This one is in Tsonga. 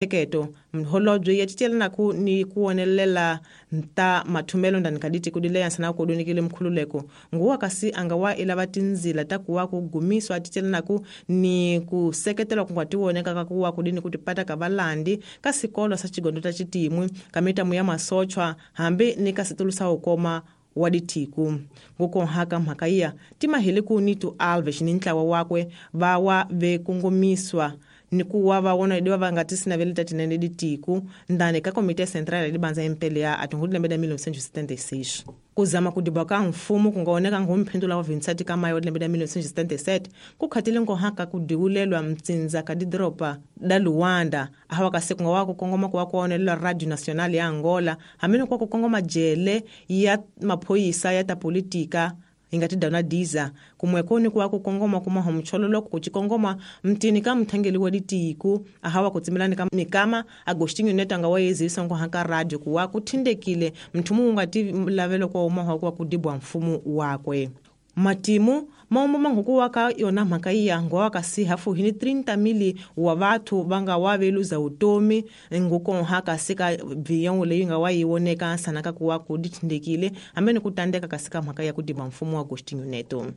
Keto mholobye ya cichelanaku ni kuwonelela ta mathumelo ndani ka ditiko di le sana ku dunikile mkhululeko nguwa kasi anga wa ilava tinzila ta kuwa ku gumiswa ticelanaku ni ku seketela ku nga tiwoneka ka kuwa kudini ku tipata ka valandi ka sikolo sa chigondo ta chitimwi ka mitamu ya masochwa hambi ni ka situlu sa ukoma wa dithiku ngukonhaka mhaka iya timahele ku Nito Alves ni ntlawa wakwe va wa ve kongomiswa ni ku wa va wona diva va nga tisinaveli ta tinene ditiku ndani ka komite central ya dibanza MPLA a tin'hweti lembe la 1976 ku zama ku diba ka mfumo ku nga oneka ngomphindula wa 27 ka mayo lembe la 1977 ku khatile nkohaka ku diwulelwa mtsindza ka didoropa da Luanda ahawa kasi ku nga wa ku kongoma ku wa ku onelela Radio Nacional ya Angola hambi ni ku wa ku kongoma jele ya maphoyisa ya ta politika hi nga ti dana diza kumweko ni ku wa ku kongoma kuma homchololo ku cikongoma mtini ka mthangeli wa ditiku ahawa ku tsimelani ka mikama Agostinho Neto anga wa yezisa nkoha ka radio ku wa ku thindekile mthumu wu nga ti lavelo kwa umaha ku wa ku dibwa mfumo wakwe matimu maumbo manguku wa ka yona mhaka iya ngowa kasi hafu hini 30,000 wa vathu va nga wa veluza utomi ngukonha kasi ka bviyango leyi nga wa yi woneka sana ka ku wa ku dithindekile hambi ni ku tandeka kasi ka mhaka ya ku diba mfumo wa Agostinho Neto.